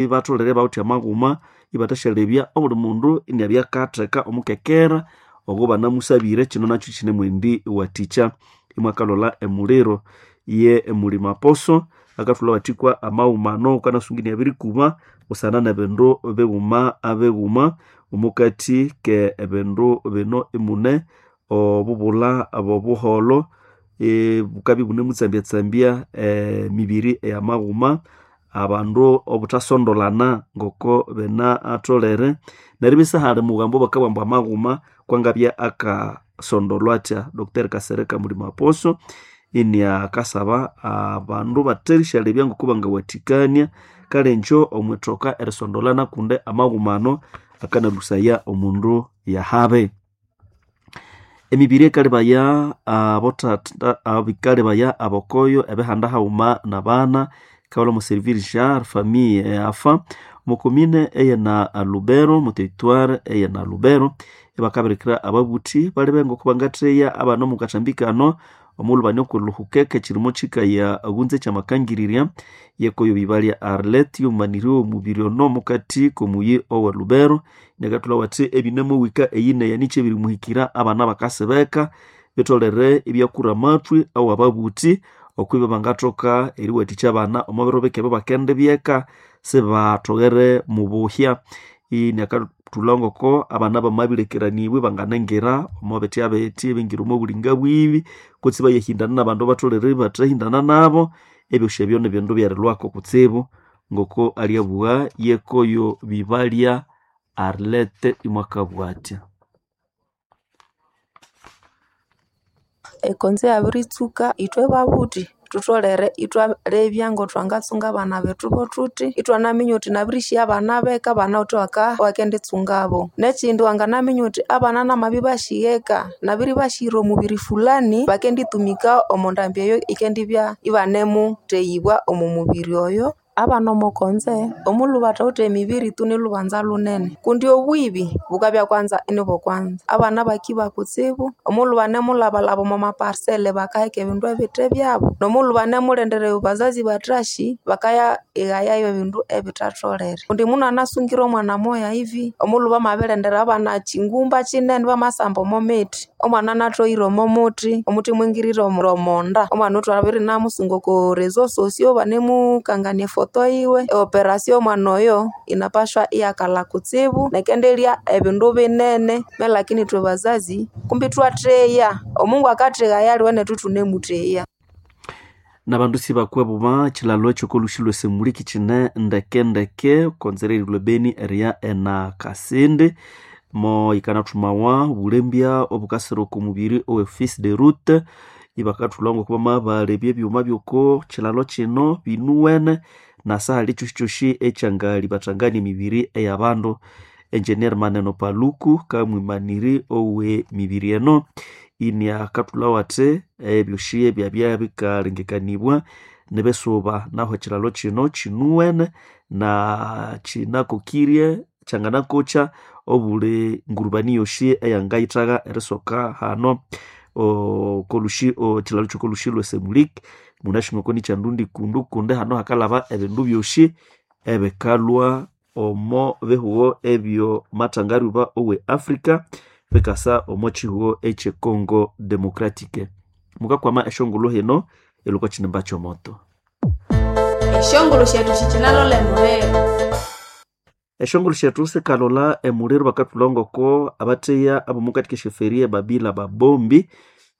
Ibatholere bawithe amaghuma ibathasyalebya obuli mundu iniabya akatheka omukekera ogo banamusabire. Kino nakyo kinemwendi wathikya. Imwakalolha emuliro ye emulima poso akathulha wathikwa amaghuma ano wukanasunga iniabirikuba busana nebindu bighuma abighuma. Omukathi ke ebindu bino imune obubulha bobuholho, bukabya ibunemutsambyatsambya emibiri eyamaghuma, abandu obuthasondolhana ngoko binatholere. Neryo isihali mughambo bakabugha ambu amaghuma kwangabya akasondolhwa athya. Dr Kasereka Mulima Apostle iniakasaba abandu batherysyalebya ngoko bangawathikania kale ingyo omwithoka erisondolhana kundi amaghuma ano akanalhusaya omundu yahabi. Emibiri ekalebaya abothatha abikalebaya abokoyo ebihanda haghuma nabana ikawalha omo servir jar famille eyafa omo commune eyena Lubero omo territoire eyena Lubero, ibakabirikira ababuthi balebe ngoko bangatheya abana omo kathambi kano omughulhu bane okwiluhukeka ekirimo kikaya aghunza ekyamakangirirya yekoyo bibalya Arlette yomumaniri womubiri ono omukathi komuyi owe Lubero. Inakathulha wathi ebinemuwika eyi neya nikyo ebirimuhikira abana bakasibeka bitholere ibyakura amathwi awababuthi okwibya bangathoka eriwathikya abana omo biro bike ebyabakendibyeka sibatholere mubuhya. Inakathulha ngoko abana bamabilekeranibwa ibanganangira omo bithi abithi ibingira omo bulinga bwibi kutse ibayahindana nabandu abatholere ibathahindana nabo. Ebyosi ebyo nibindu byerilhwako kutsibu ngoko alyabugha yekoyo bibalya Arlette imwakabugha athya. Ekonzo yabiritsuka ithwe babuthi thutholere ithwalebya ngothwangatsunga abana bethu bothuthi, ithwanaminya uthi nabirishiya abana beka banawithe owakenditsungabo. Nekyindi wanganaminya uthi abana namabibashiya eka nabiribashira omubiri fulani bakenditumika omo ndambi eyo yikendibya ibanemutheyibwa omo mubiri oyo. Abana omo konze omulhu bathawithe emibiri tu nilhubanza lunene kundi obwibi bukabya kwanza inibokwanza. Abana bakiba kutsibu omulhu banemulhabalhaba omo maparisele bakaheka ebindu ebithe byabo nomulhu banemulindira bazazi bathasyi bakaya ighayayo ebindu ebithatholere. Kundi mundu anasungire omwana moya hivi omulhu bamabilindira abana kyingumba kyinene bamasamba omo mithi, omwana anathoghire omo muthi, omuthi imwingirira omonda. Omwana oyo ithwabiri namusunga oko reseaux sociaux banemukangania efoto yiwe. Eoperasio yomwana oyo inapashwa iyakalha kutsibu nekendelya ebindu binene lakini ithwe bazazi kumbi ithwatheya. Omungu akatheghaya aliwe nethu ithunemutheya. Nabandu sibakwebuba ekilhalo ekyokolhusi lwesemuliki kine ndekendeke konzera erilhwa ebeni eriya ena Kasindi mo yikanathumawa obulembya obukasira oko mubiri owe fils de route ibakathulha ngoko bamabalebya ebyuma byoko kilhalo kino binuwene nasahali kyosi ekyangalibathangania emibiri eyabandu. Engineer Maneno Paluku kamwimaniri owe mibiri eno iniakathulhawo athi ebyosi ebyabya bikalengekanibwa nibisuba nahu ekilhalo kino kinuwene na kinakokirye kyanganakokya obuli ngurubani yosi eyangayithagha erisoka hano okolhusi ekilhalo kyokolhusi lwesemuliki. Munasi ngoko nikyandundi kundu kundi hano hakalhaba ebindu byosi ebikalhwa omo bihugho ebyo mathangaryuba owe Africa bikasa omo kihugho ekye Congo Democratic. Mukakwama esyongulhu hino ilhwe okwa kinimba kyomoto. Esyongulhu syethu sikyinalolha emuliro. Esyongulhu syethu sikalolha emuliro bakathulha ngoko abatheya abomukati kesyoferi ebabila babombi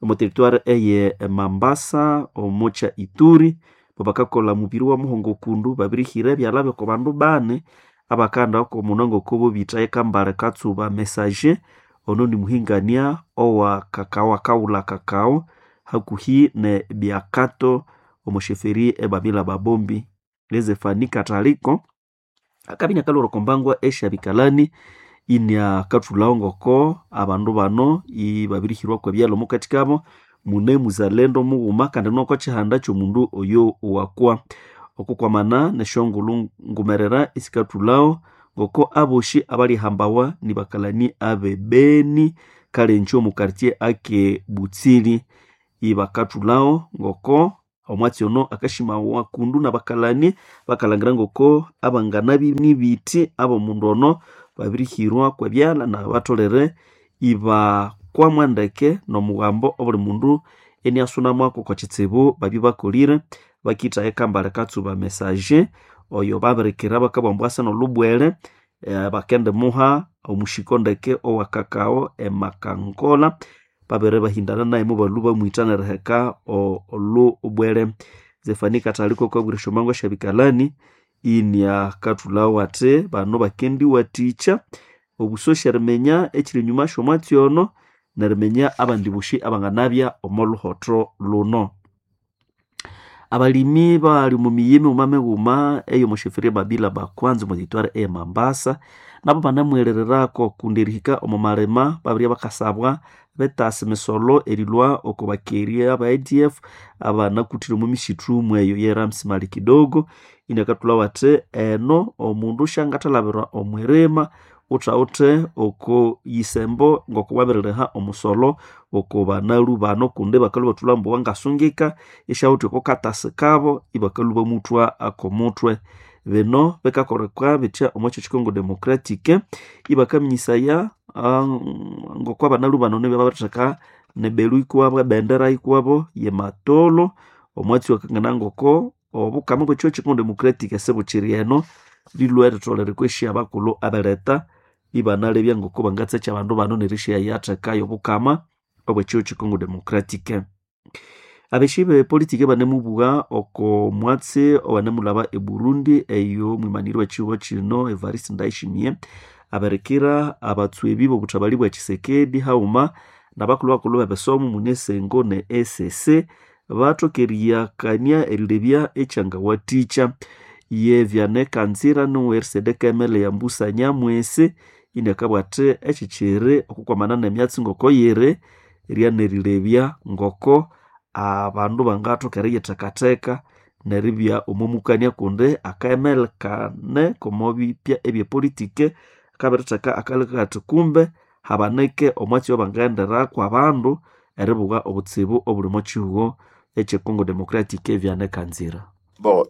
omo territoire eye Mambasa omo kya Ituri bakakolha mubiri wa muhongo kundu babirihira ebyalha byoko bandu bani abakaghenda omunwa ngoko bobitha Kambale Katsuba Messager ono nimuhingania owa kakao akawulha kakao hakuhi ne Biakato omo sheferi ebabila babombi. Lezefani Kataliko akabya iniakalhwira oko mbangwa esyabikalani iniakathulhawo ngoko abandu bano ibabirihirwako ebyalha omukathi kabo mune muzalendo mughuma kandi noko kyihanda kyomundu oyo wakwa. Okukwamana nesyongulhu ngumerera isikathulhawo ngoko abosi abalyahambawa nibakalani abe Beni kale ingye omu quartier ake Butsili ibakathulhawo ngoko Omwatsi ono akashimawa kundu n'abakalani bakalangira ngoko abangana nibiti ab'omundu ono babirihirwa kw'ebyalha na batolere ibakwamwa ndeke n'omughambo obuli mundu eniasunamwako kwa kitsibu babye bakolire. Bakitha ekambale katsuba message oyo babirikira bakabugha asa n'olubwele bakendimuha omushiko ndeke owa kakao emakangola babere bahindana naye mubalhu bamwitha neriheka olubwele. Zefani Kathaliko kwabwira esyomango esyabikalani iniakathulhawo athi bano bakendiwathikya obusosi eriminya ekiri enyuma syomwatsi ono neriminya abandi bosi abanganabya omo luhotho luno. Abalimi bali omu miyi mighuma mighuma eyomo sheferia Babila Bakwanza omo territoire eye Mambasa nabo banamwerererako kundi erihika omo malima babirya bakasabwa betasa emisolo erilhwa oko bakeria aba ADF abanakuthire omo misithu mweyo ye Ramsimali kidogo. Iniakathulhawo athi eno omundu syangathalabirwa omwirima uthawuthe oko yisembo ngoko wabiririha omusolo oko banalhu bano kundi bakalhwa bathulha ambu wangasungika isyawuthe oko katasi kabo ibakalhwa bamuthwa akomuthwe. Bino bikakoleka bithya omo kyo Congo Democratic ibakaminyisaya ngoko abanalhu bano nibyo babiritheka nebelu ikuwabo ebendera ikuwabo yematolo. Omwatsi wakangana ngoko obukama bwekyo Congo Democratic esibukiri eno lilwe eritholere kwesi abakulhu abeletha ibanalebya ngoko bangatsekya abandu bano nerisyayathekayo obukama obwekyo Congo Democratic. Abeshi bepolitiki banemubugha oko mwatsi owanemulhaba e Burundi eyo mwimaniri w'ekihugho kino Evariste Ndayishimiye abirikira abatswebi b'obuthabali bwa Tshisekedi haghuma n'abakulhu bakulhu b'ebisomo mune Sengo ne ECC bathoka eriyakania erilebya ekyangawathikya. Ye Vianney Kanzira nowe RCD Kemele ya Mbusa Nyamwisi iniakabugha athi ekyikyiri okukwamana n'emyatsi ngoko yiri ryanerilebya ngoko abandu bangathoka eriyithekatheka neribya omo mukania kundi akaemele kane komo bipya ebyepolitiki kabiritheka akaleka kathi kumbe habanike omwatsi owabangaghenderako abandu eribugha obutsibu obuli omo kihugho ekye Congo Democratic. Vianney Kanzira. Bo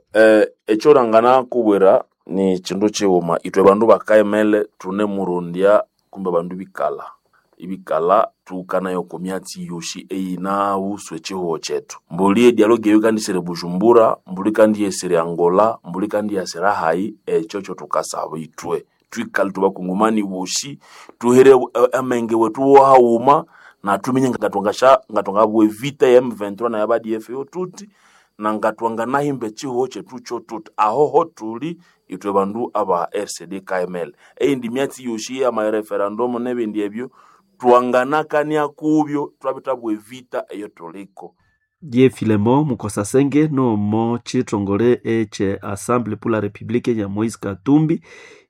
ekyolangana kubwira ni kindu kighuma ithwe bandu bakaemele thunemurondya kumbe bandu bikalha ibikala tuhukanayo oko myatsi yosi eyinahusu ekihugho kyethu. Mbuli edialogue eyo yikandisira eBujumbura, mbuli ikandiyesira eAngola, mbuli ikandiyasira hayi, ekyo kyothukasaba ithwe thwikale ithwe bakongomani bosi thuhere amenge wethu wohaghuma na thuminye ngathwangabugha evita ya M23 na ya ADF yo thuthi na ngathwanganahimba ekihugho kyethu kyothuthi. Ahoho thuli ithwe bandu aba RCD KML. Eyindi myatsi yosi eyama referendum nebindi ebyo twanganakania kubyo thwabithabugha evita eyothuliko. Ye Filemo Mukosasenge nomo chitongole eche Assemblée pour la République ya Moise Katumbi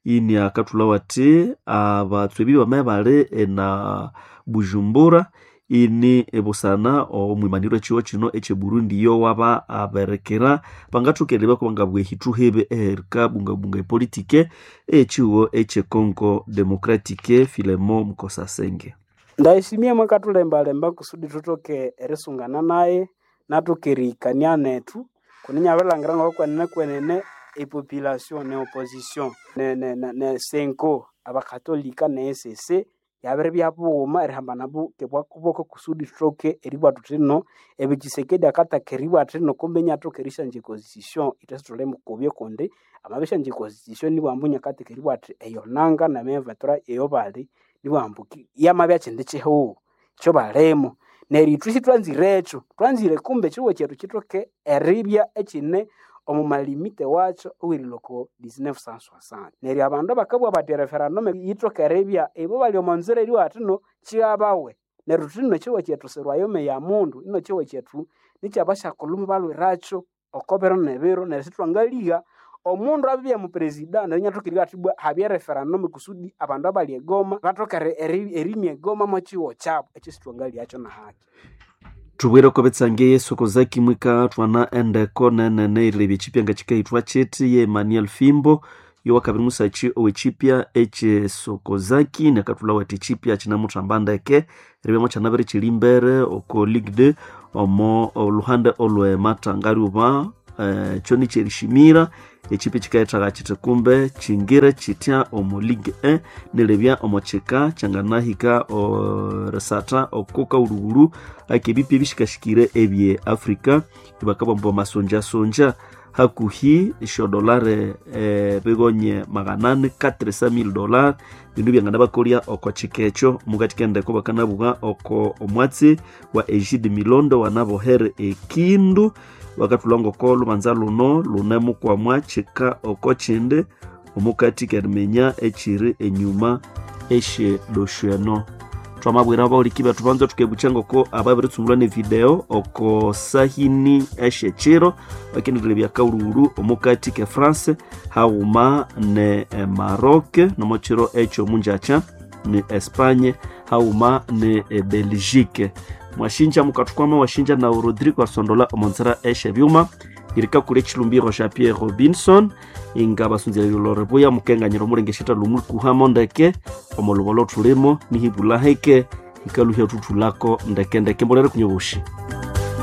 ini akathulhawo athi abatswebi bamaye bali ena Bujumbura ini ebusana omwimaniro ekihugho kino ekye Burundi yo waba aberekera bangathoka erilebya kubangabugha ehithu hibi eherikabungabunga epolitike eyekihugho ekye Congo Democratic. Filemo Mukosasenge. Ndayishimiye mwakathulembalemba kusudi thuthoke erisungana naye nathoke erihikania nethu kundi inyabirilhangira ngokwenene kwenene epopulation ne opposition ne Senko abakatolika ne ECC yabiribya bughuma erihambana bwakuboko kusudi thuthoke eribugha thuthi ino ebi Tshisekedi akataka eribugha athi ino kumbe inathoka erisyangya econstitution ithwe sithulimukubya kundi amabisyangya econstitution ibwambu inakatheka eribugha athi eyo nanga ne M23 eyo bali ibwambu yamabya kyindi kihugho ekyobalimo. Neryo ithwe sithwanzirekyo, thwanzire kumbe ekihugho kyethu kithoke eribya ekyine omu malimite wakyo owerilhwa oko 1960. Neryo abandu abakabugha bathi ereferendum yithoke eribya ibo bali omo nzira eribugha bathi ino kighabawe. Neryo thuthi ino ekihugho kyethu si royaume ya mundu, ino ekihugho kyethu nikyabasyakulhu mubalhwirakyo oko biro nebiro neryo sithwangaligha omundu abibya mupresida neryo inathoka eribugha athi ibwa habye referendum kusudi abandu abali egoma bathoke erimya egoma mwa kihugho kyabu. Ekyo sithwangaligha nahaki. Thubwire oko bitsange Yesu kozaki mwika thwana endeko nenene erilebya ekipya nga kikahithwa kithi ye Emmanuel Fimbo Yowakabiri musachi ow'echipya echesokozaki nakathulha wethi echipya kinamuthamba ndeke eribya mwakyana kiri imbere oko Ligue 2 omo oluhande olwe matangaryuba kyo nikyerishimira echipi kikayethaga kyithi kumbe kyingire kyitya omo Ligue 1 nilebya omo kika kyanganahika erisatha oko kaghulhughulhu akebipi ebishikashikire ebye Africa. Ibakabugha ambu bamasonjasonja hakuhi esyodolare bigonye 400 $400,000 bindu byanganabakolya oko kika ekyo. Mukati kendeko bakanabugha oko omwatsi wa Egide Milondo wanabohere ekindu bakathulha ngoko lubanza luno lunemukwamwa kika oko kindi omukati keriminya ekiri enyuma esyedosyo eno. Twamabwira abawuliki bethu banza thukebukya ngoko ababiritsumulwa nevideo oko sahini esyekiro bakendirilebya kaghulhughulhu omukati ke France haghuma ne Maroc nomokiro ekyo munjakya ni Espagne haghuma ne Belgique. Mwashinja mukathukwama washinja na Rodrigo Asondola omonzera esyebyuma irikakula echilumbiro sya Pierre Robinson inga basunzira lore buya mukenganyira omulengesheta lumulikuhamo ndeke omolubolo thulimo nihibula heke hikaluhya thuthulako ndeke ndeke. Mbolere kunyoboshi.